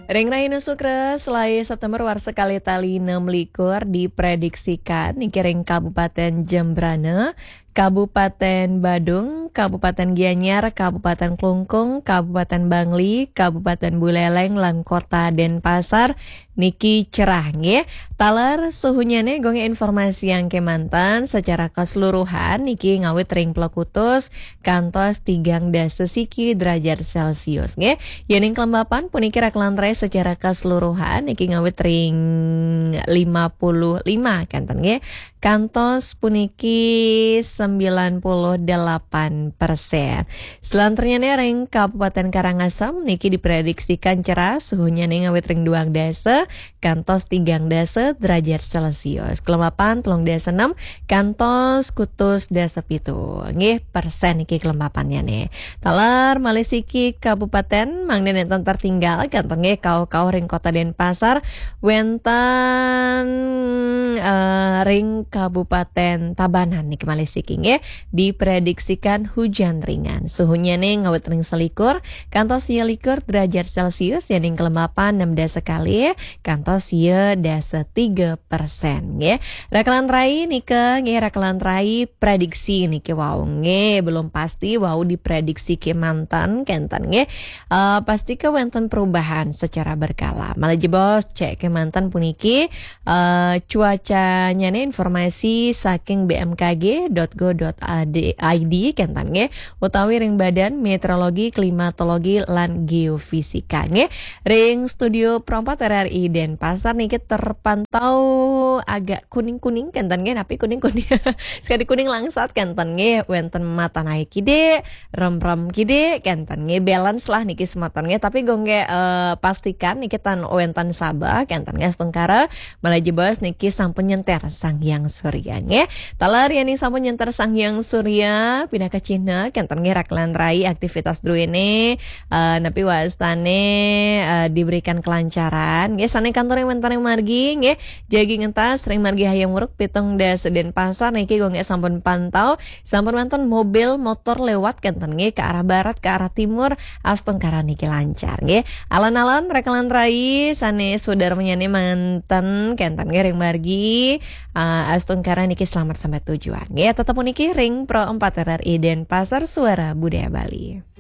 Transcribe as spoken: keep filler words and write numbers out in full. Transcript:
Ring rahina Sukra, selaé September warsa kalih tali enam likur diprediksikan niki ring Kabupaten Jembrana, Kabupaten Badung, Kabupaten Gianyar, Kabupaten Klungkung, Kabupaten Bangli, Kabupaten Buleleng, lan Kota Denpasar niki cerah nggih. Taler suhunyane gong informasiang kemanten secara keseluruhan niki ngawit ring plokutus kantos tigang dasa siki derajat Celcius nggih. Yening kelembapan puniki rakelan rai secara keseluruhan niki ngawit ring lima puluh lima kenten nggih. Kantos puniki sembilan puluh delapan persen. Selanturnyane ring Kabupaten Karangasem niki diprediksikan cerah suhunyane ngawit ring duang dasa kantos tigang dasa derajat Celcius. Kelembapan telung dasa enam kantos kutus dasa pitu nggih persen niki kelembapannyane. Taler malih siki kabupaten mangda nenten tertinggal kenten nggih kauh-kauh ring Kota Denpasar wenten eh, ring Kabupaten Tabanan niki malih siki nggih diprediksikan hujan ringan. Suhunyane ngawit ring selikur kantos sia likur derajat Celcius, yening kelembapan enam dasa kalih kantos sia dasa tiga persen nggih. Rakelan rai nika nggih, rakelan rai prediksi niki wau nggih, belum pasti wau diprediksi kemanten kenten nggih. Eh, pasti ke wenten perubahan secara berkala. Malih jebos cek kemanten puniki eh, cuacanyane informasi saking B M K G dot go dot I D kenten nggih, utawi ring Badan Meteorologi, Klimatologi, lan Geofisika nggih. Ring studio Pro empat R R I Denpasar niki terpantau agak kuning-kuning kenten nggih, napi kuning-kuning? Sekadi kuning langsat kenten nggih, wenten matan ae kidik, remrem kidik kenten nggih, balance lah niki semeton nggih. Tapi gong nggih, eh, pastikan niki tan wenten sabeh kenten nggih, astungkara malih jebos niki sampun nyenter Sang Hyang Surya nggih. Taler yening sampun nyenter Sang Hyang Surya, pinaka cihna kenten nggih rakelan rai aktivitas druene, eh, napi wastane, eh, diberikan kelancaran nggih. Sane kantor ring wenten ring margi nggih, jagi ngentas ring margi Hayam Wuruk pitung dasa Denpasar niki gong nggih sampun pantau, sampun wenten mobil motor lewat kenten nggih ke arah barat, ke arah timur, astungkara niki lancar nggih. Alon-alon rakelan rai sane sudarmanyane manten kenten nggih ring margi, eh, astungkara niki selamat sampai tujuan nggih. Tetep puniki ring Pro empat R R I Denpasar, Suara Budaya Bali.